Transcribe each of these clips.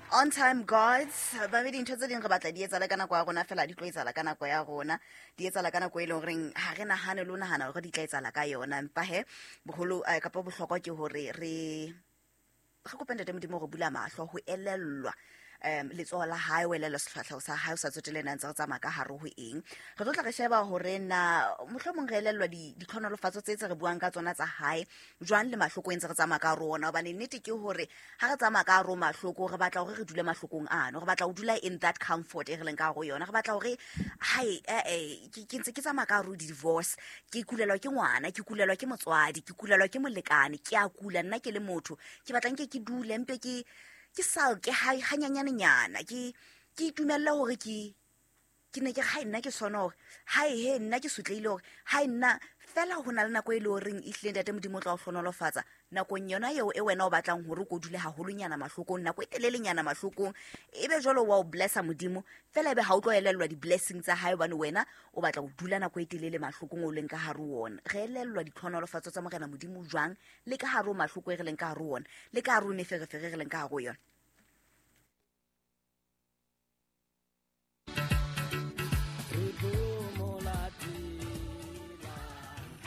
On time gods. Ba be dintho tse ding re batla di etsala ka nako ya rona, fela di tlo etsala ka nako ya rona, di etsala ka nako e leng goreng ga re nagane le o nagana gore di tla etsala ka yona. Empa he bogolo kapa bohlokwa ke gore re kope Ntate Modimo gore bula mahlo go elellwa letsoho la hae, o elellwa sefatlhego sa hae, o sa tsotele na ntse re tsamaya ka gare go eng. Re tlo tla re sheba gore na mohlomong re elellwa ditlhonolofatso tse re buang ka tsona tsa hae jwang le mahloko e ntse re tsamaya ka rona, hobane nnete ke hore ha re tsamaya ka hare ho mahloko, re batla hore re dule mahlokong ano, re batla ho dula in that comfort e re leng ka hare ho yona. Re batla hore hai ke ntse ke tsamaya ka hare ho di-divorce, ke kulelwa ke ngwana, ke kulelwa ke motswadi, ke kulelwa ke molekane, ke a kula nna ke le motho, ke batla nke ke dule mpe ke salke hanyanyanenyana, ke itumelle hore ke ne ke hai nna ke sona, hore hai he nna ke sotleile, hore hai nna fela. Ho na le nako e le horeng e hlile Ntate Modimo o tla o hlonolofatsa nakong yona eo e wena o batlang hore o ko dule haholonyana mahlokong, nako e telelenyana mahlokong, ebe jwalo wa o blessa Modimo fela, ebe ha o tlo elellwa di-blessing tsa hae hobane wena o batla ho dula nako e telele mahlokong o leng ka hare ho ona. Re elellwa ditlhonolofatso tsa Morena Modimo jwang le ka hare ho mahloko e re leng ka hare ho ona, le ka hare ho meferefere re leng ka hare ho yona?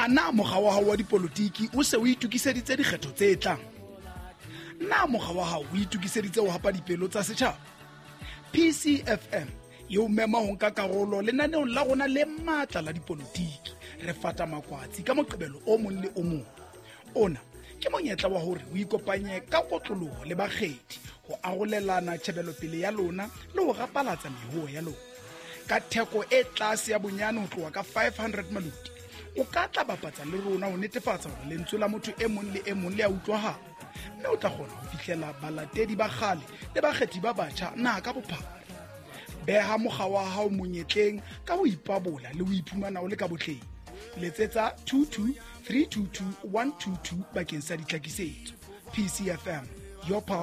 A na mokga wa hao wa dipolotiki o se o itokiseditse dikgetho tse tlang? Na mokga wa hao o itokiseditse ho hapa dipelo tsa setjhaba? PCFM e o mema ho nka karolo lenaneong la rona le matla la dipolotiki, Re Fata Makwatsi, ka Moqebelo o mong le o mong. Ona ke monyetla wa hore o ikopanye ka kotloloho le bakgethi ho arolelana tjhebelopele ya lona le ho rapalatsa mehoho ya lona ka theko e tlase ya bonyane ho tloha ka 500 maloti. O ka tla bapatsa le rona ho netefatsa hore lentswe la motho e mong le e mong le a utlwahala, mme o tla kgona ho fihlela balatedi ba kgale le bakgethi ba batjha naha ka bophara. Beha mokga wa hao monyetleng ka ho ipabola le ho iphumana o le ka botleng. Letsetsa 22 322 122 bakeng sa ditlhakisetso. PCFM, your power.